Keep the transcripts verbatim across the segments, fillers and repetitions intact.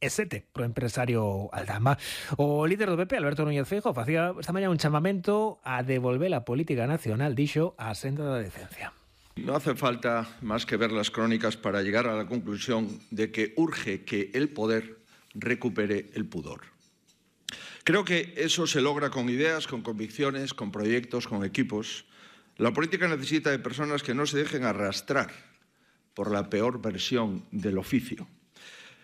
e sete pro empresario Aldama. O líder do P P, Alberto Núñez Feijóo, facía esta mañá un chamamento a devolver a política nacional, dixo, á senda da decencia. No hace falta más que ver las crónicas para llegar a la conclusión de que urge que el poder recupere el pudor. Creo que eso se logra con ideas, con convicciones, con proyectos, con equipos. La política necesita de personas que no se dejen arrastrar por la peor versión del oficio.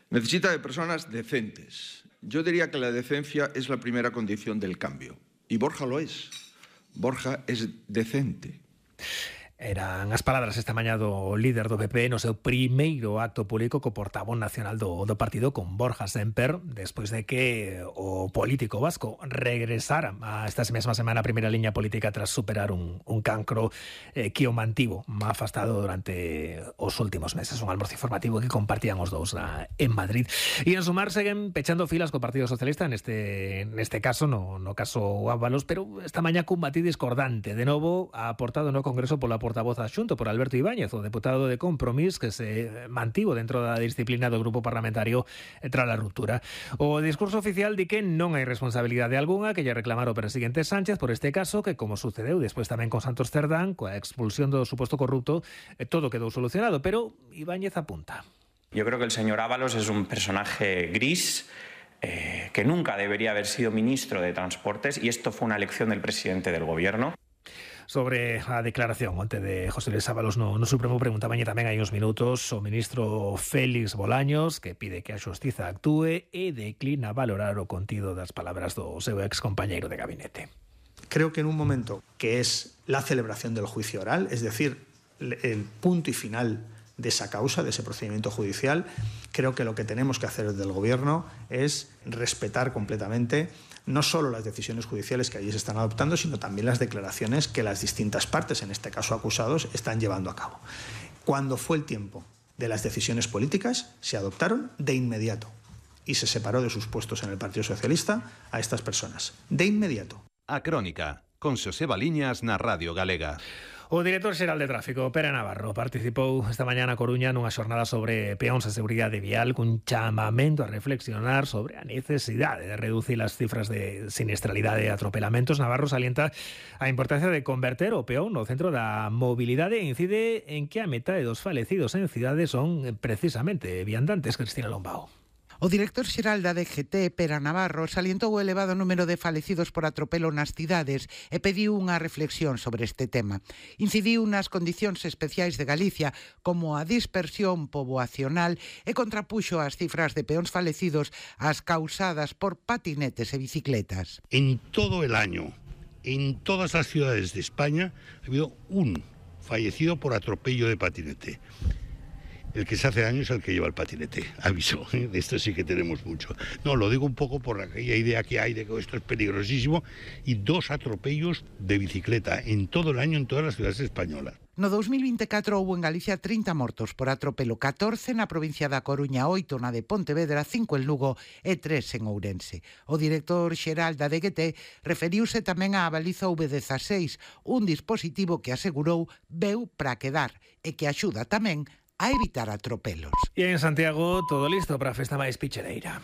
Necesita de personas decentes. Yo diría que la decencia es la primera condición del cambio. Y Borja lo es. Borja es decente. Eran as palabras esta mañá do líder do P P no seu primeiro acto público co portavoz nacional do, do partido, con Borja Sémper, despois de que o político vasco regresara a esta mesma semana a primeira liña política tras superar un, un cancro eh, que o mantivo afastado durante os últimos meses. Un almorzo informativo que compartían os dous na, en Madrid. E en sumar seguen pechando filas co Partido Socialista neste, neste caso, no, no caso Ábalos, pero esta mañá cun matiz discordante. De novo, aportado no Congreso pola portavoz adxunto por Alberto Ibáñez, o deputado de Compromís, que se mantivo dentro da disciplina do grupo parlamentario tras a ruptura. O discurso oficial di que non hai responsabilidade algunha que lle reclamar o presidente Sánchez por este caso, que como sucedeu despois tamén con Santos Cerdán, coa expulsión do suposto corrupto, todo quedou solucionado, pero Ibáñez apunta. Yo creo que el señor Ábalos es un personaje gris, eh, que nunca debería haber sido ministro de Transportes, y esto fue una elección del presidente del gobierno. Sobre a declaración onte de José Luis Ábalos no, no Supremo, preguntabañe tamén hai uns minutos o ministro Félix Bolaños, que pide que a xustiza actúe e declina valorar o contido das palabras do seu ex compañeiro de gabinete. Creo que en un momento que es la celebración del juicio oral, es decir, el punto y final de esa causa, de ese procedimiento judicial, creo que lo que tenemos que hacer desde el Gobierno es respetar completamente no solo las decisiones judiciales que allí se están adoptando, sino también las declaraciones que las distintas partes, en este caso acusados, están llevando a cabo. Cuando fue el tiempo de las decisiones políticas, se adoptaron de inmediato y se separó de sus puestos en el Partido Socialista a estas personas. De inmediato. A Crónica, con Xosé Baliñas na Radio Galega. O director xeral de tráfico, Pere Navarro, participou esta mañá na Coruña nunha xornada sobre peóns e seguridade vial, cun chamamento a reflexionar sobre a necesidade de reducir as cifras de siniestralidade e atropelamentos. Navarro salienta a importancia de converter o peón no centro da mobilidade e incide en que a metade dos falecidos en cidades son precisamente viandantes. Cristina Lombao. O director xeral da D G T, Pere Navarro, salientou o elevado número de falecidos por atropelo nas cidades e pediu unha reflexión sobre este tema. Incidiu nas condicións especiais de Galicia, como a dispersión poboacional, e contrapuxo as cifras de peóns falecidos ás causadas por patinetes e bicicletas. En todo el año, en todas las ciudades de España, ha habido un fallecido por atropello de patinete. El que se hace daño es el que lleva el patinete, aviso, ¿eh? De esto sí que tenemos mucho. No, lo digo un poco por aquella idea que hay de que esto es peligrosísimo, y dos atropellos de bicicleta en todo el año en todas las ciudades españolas. No dos mil veinticuatro houbo en Galicia trinta mortos por atropelo, catorce na provincia da Coruña, oito na de Pontevedra, cinco en Lugo e tres en Ourense. O director xeral da D G T referiuse tamén á baliza V dezasseis, un dispositivo que asegurou veu para quedar e que axuda tamén a evitar atropelos. E en Santiago todo listo para a festa máis pichereira.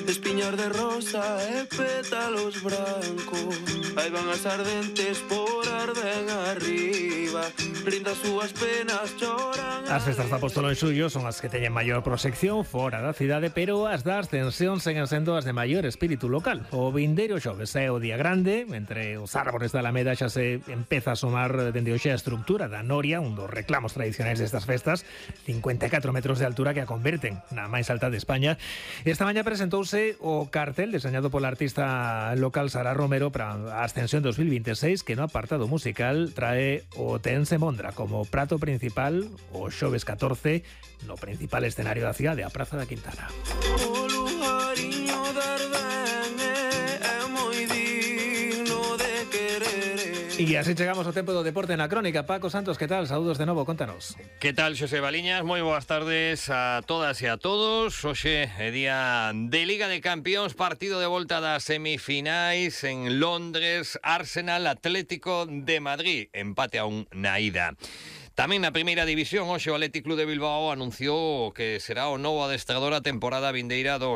Espiñar de rosa e pétalos brancos, aí van as ardentes por arden arriba, rinda as súas penas choran. As festas da Apóstolo en xullo son as que teñen maior proxección fora da cidade, pero as da Ascensión seguen sendo as de maior espírito local. O vindeiro xoves é o día grande, entre os árbores da Alameda xa se empeza a sumar dende hoxe a estructura da Noria, un dos reclamos tradicionais destas festas, cincuenta e catro metros de altura que a converten na máis alta de España. Esta mañá presentouse o cartel deseñado pola artista local Sara Romero para a Ascensión dos mil veintiséis, que no apartado musical trae o Tense Mondra como prato principal o xoves catorce no principal escenario da cidade, a Praza da Quintana. O lujariño de Ardén é moi digno de querer. E así chegamos ao tempo do deporte na Crónica. Paco Santos, que tal? Saúdos de novo, contanos. Que tal, Xosé Baliñas? Moi boas tardes a todas e a todos. Hoxe é día de Liga de Campións, partido de volta das semifinais en Londres, Arsenal Atlético de Madrid, empate a un na ida. Tamén na primeira división, hoxe o Athletic Club de Bilbao anunciou que será o novo adestrador a temporada vindeira do